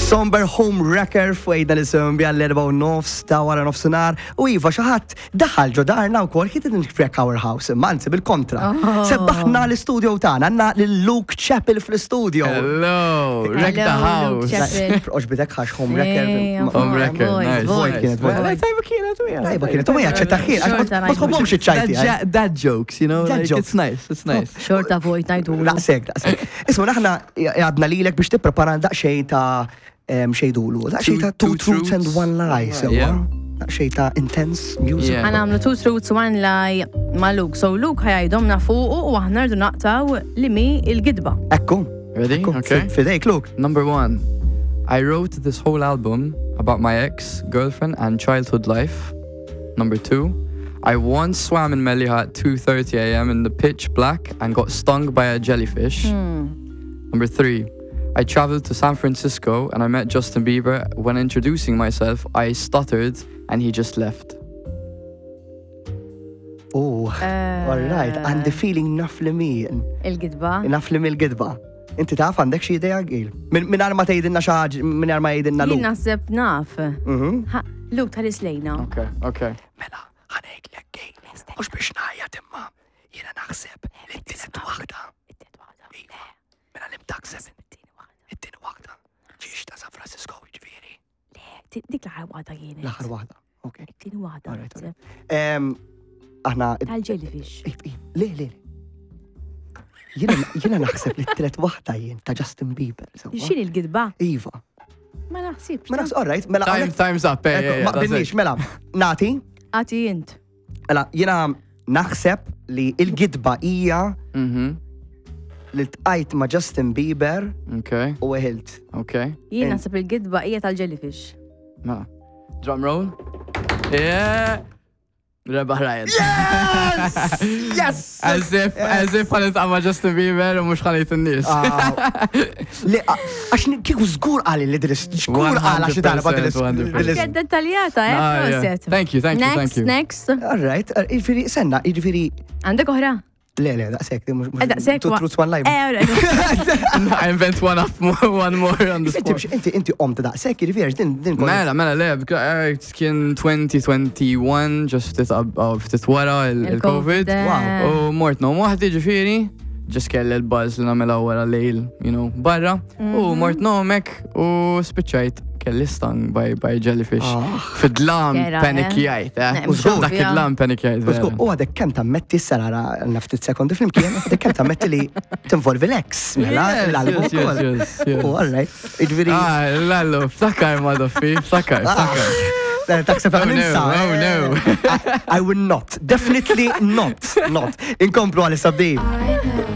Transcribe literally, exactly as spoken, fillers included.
Somber Home Wrecker fwejda li bija l-erba u nofs ta' wara nofsinhar u iva xi ħadd daħal ġo darna wkoll, he didn't wreck our house, imma anzi bil-kontra. Oh. Sebbaħna l-istudio tagħna, għandna lil Luke Chappell fl-istudio. Hello, wreck the Hello, Luke house. Chappell. Oġbitek ħax Home Wrecker. Eh, Ma- Home Wrecker, Void, nice. void kienet, void. Nice. Tajba kienet, u Tajba kienet, u ma jaċċettaħin, għax Xorta ma tħobbhomx iċ-ċajti. Dad, ja- dad jokes, you know, Dad like, jokes. it's nice, it's nice. Xorta vojt ngħidu. Daqsek, daqsek. Isma, aħna għadna lilek biex tipprepara daqsxejn ta' em, xejdulu, daqsxejn ta' Two- two two truths and truths. one lie, sewwa. Yeah. Daqsxejn ta' intense music. Yeah. Ħa nagħmlu two truths, one lie ma' Luke. So Luke ħa jgħidhomlna fuqu u aħna rridu naqtgħu liema hi l-gidba. Ekku. Ready? Ekku. Okay. Fidejk, Luke. Number one, I wrote this whole album about my ex, girlfriend, and childhood life. Number two, I once swam in Mellieħa at two thirty a m in the pitch black and got stung by a jellyfish. Number three, I traveled to San Francisco and I met Justin Bieber. When introducing myself, I stuttered and he just left. Oh, all right. Għandi feeling naf li mi. Il-gidba. Naf li mi l-gidba. Inti taf, għandek xi idea, Gil? Min ma tgħidilna xi ħaġa, minn ma jgħidilna Jien Luke. naħseb naf. Mhm. Ha, Luke, tħares lejna. Okay, okay. Mela, ħa ngħidlek, Gil. Mhux biex ngħajjat imma jiena naħseb li t-tielet waħda. Iva. Mela li mtaħseb it-tieni waħda. Ġiex ta' San Francisco jiġifieri. Dik l-aħħar waħda kienet. L-aħħar waħda. Ok. It-tieni waħda. Alright, naħseb. Em, Aħna. Tal-jellyfish. If, if, Le, le, le. Jiena jiena naħseb li t-tielet waħda jien ta' Justin Bieber. Sewwa? X'inhi l-gidba? Iva. Ma naħsibx. Ma naħseb, all right, mela. Time, hawnhekk- time's up. Hey, Ekku, yeah, yeah, ma that's qbilniex, it. mela, nati, Agħti int. Mela, jiena naħseb li il-gidba hija Mm-hmm. li ltqajt ma' Justin Bieber Okay, u weħilt. okay. Jien Int. naħseb il-gidba hija tal-jellyfish. Mela. Drum roll. Yeah. Rebaħ Ryan. Yes! Yes! As if, as if ħa niltaqa' ma' Justin Bieber u mhux ħa ngħid in-nies. Ah, Le, ah, għax ni- kieku żgur għali li dilis, żgur għala xi darba dilis. one hundred percent. dilis- Kienet dettaljata, eh? Ah, yeah. Proset. Thank you, thank you, Next, thank you. next. All right, jiġifieri, senna, jiġifieri, Għandek oħra? Le, le, daqsek, Eh, daqshekk Two wa- truths, one lie. Eh, all right. I invent one up more, one more on the Inti spot. inti inti qomt daqsek, jiġifieri, din din Mela, mela, le, because, uh, kien twenty twenty-one, just ftit qab- oh, ftit wara il- il-Covid. eh. Wow. U mort ngħum waħdi ġifieri, just kelli l-buzz li nagħmilha wara lejl, you know, barra. U mort ngħum hekk u spiċċajt kelli stung by, by jellyfish. Ah. Fid-dlam Kera, eh? panikjajt, eh? Ne, U żgur. Dak id-dlam panikjajt. U żgur, vera. u għadek kemm tammetti s-sarara naftit sekondi flimkien, għadek kemm tammetti li tinvolvi l-ex, mela, Yes, l-album yes, yes, ukoll. yes, yes. U all right, jiġifieri. Ah, lallu, ftakar ma doffi, ftakar, ftakar. Taħseb Oh no, ninsa. oh no. I, I will not, definitely not, not. Inkomplu għal sabdi. I know.